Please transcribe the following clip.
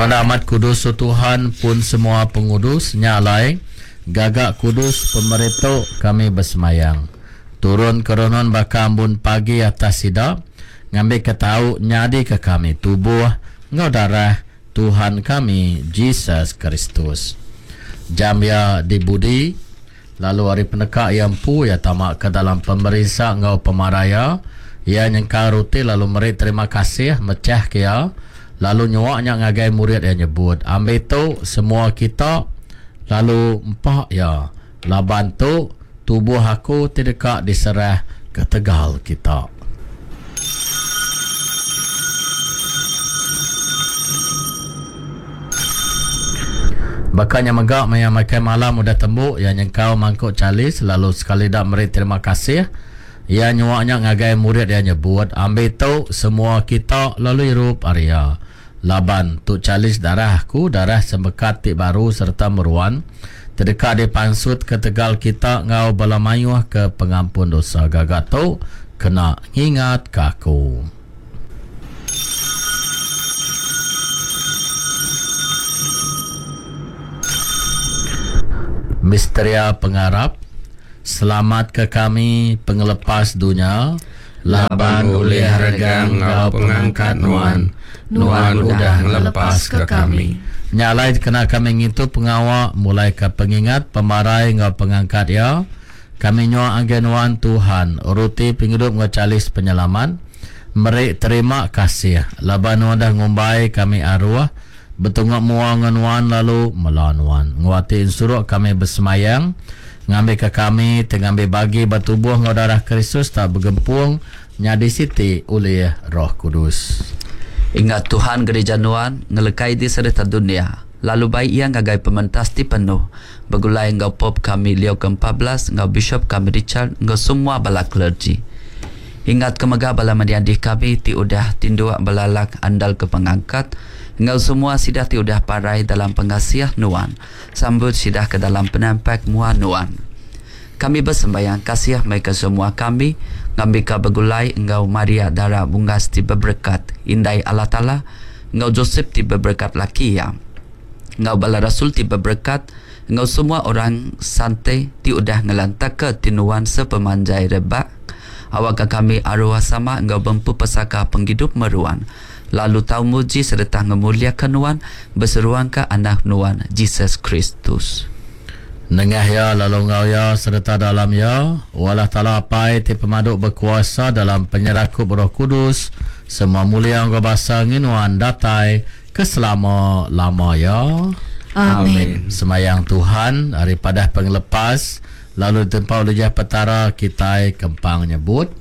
Nuan amat kudus, O Tuhan, pun semoa pengudus, nya alai, gaga kudus pemeri tu, kami besemayang. Turun ka Roh Nuan baka ambun pagi atas sida, ngambika tau nyadika kami tubuh enggau darah Tuhan kami Jesus Kristus. Jam iya dibudi, lalu ari peneka iya empu iya tama ke dalam pemerinsa enggau pemarai iya, iya nyengkal ruti lalu meri terima kasih, mechahka iya, lalu nyua nya ngagai murid iya nyebut, Ambi tu, semua kita, lalu empa iya, laban tu tubuh aku ti deka diserah ketegal kita. Baka nya mega maya makai malam udah tembu, iya nyengkau mangkuk chalis lalu sekali da meri terima kasih. Iya nyua nya ngagai murid iya nyebut, Ambi tu, semua kita, lalu irup ari iya. Laban, tu chalis darah aku, darah sempekat ti baru sereta meruan, ti deka dipansutka tegal kita enggau bala mayuh ke pengampun dosa. Gaga tu kena ngingatka aku. Misteria Pengarap, Selamatka kami pengelepas dunya. Laban ulih regang enggau pengangkat Nuan, Nuan udah ngelepaska kami. Nya alai kena kami ngintu pengawa mulaika pengingat pemarai enggau pengangkat Iya, kami nyua ngagai Nuan, Tuhan, ruti pengidup enggau chalis penyelamat, meri terima kasih laban Nuan udah ngumbai kami aruh betunga mua enggau Nuan lalu mela Nuan. Enggau ati ensuruk kami besemayang, ngambika kami ti ngambi bagi ba tubuh enggau darah Kristus tau begempung nyadi siti ulih Roh Kudus. Ingat Tuhan gerija Nuan ngelekai di sereta dunya, lalu bai iya ngagai pementas ti penuh, begulai enggau Pope kami Leo ke 14 enggau Bishop kami Richard enggau semua bala clergy. Ingat ke mega bala menyadi kami ti udah tinduk belalak andal ke pengangkat, enggau semua sida ti udah parai dalam pengasih Nuan. Sambut sida ke dalam penampak mua Nuan. Kami besembayang kasih meh ke semua kami, ngambika begulai enggau Maria Dara Bungas ti beberekat, Indai Allah Taala, enggau Josep ti beberekat laki iya, enggau bala rasul ti beberekat, enggau semua orang sante ti udah ngelantaka ti Nuan sepemanjai rebak, awakka kami aruh sama enggau bempu pesaka pengidup meruan. Lalu tau muji sereta ngemuliaka Nuan beseruangka Anak Nuan, Jesus Kristus. Nengah Iya, lalu enggau Iya, sereta dalam Iya, O Allah Taala Apai ti pemadu bekuasa dalam penyerakup Roh Kudus, semua mulia enggau basa ngi Nuan datai ke selama-lama iya. Amin. Semayang Tuhan ari padah pengelepas, lalu ditempau lijah Petara kitai kempang nyebut.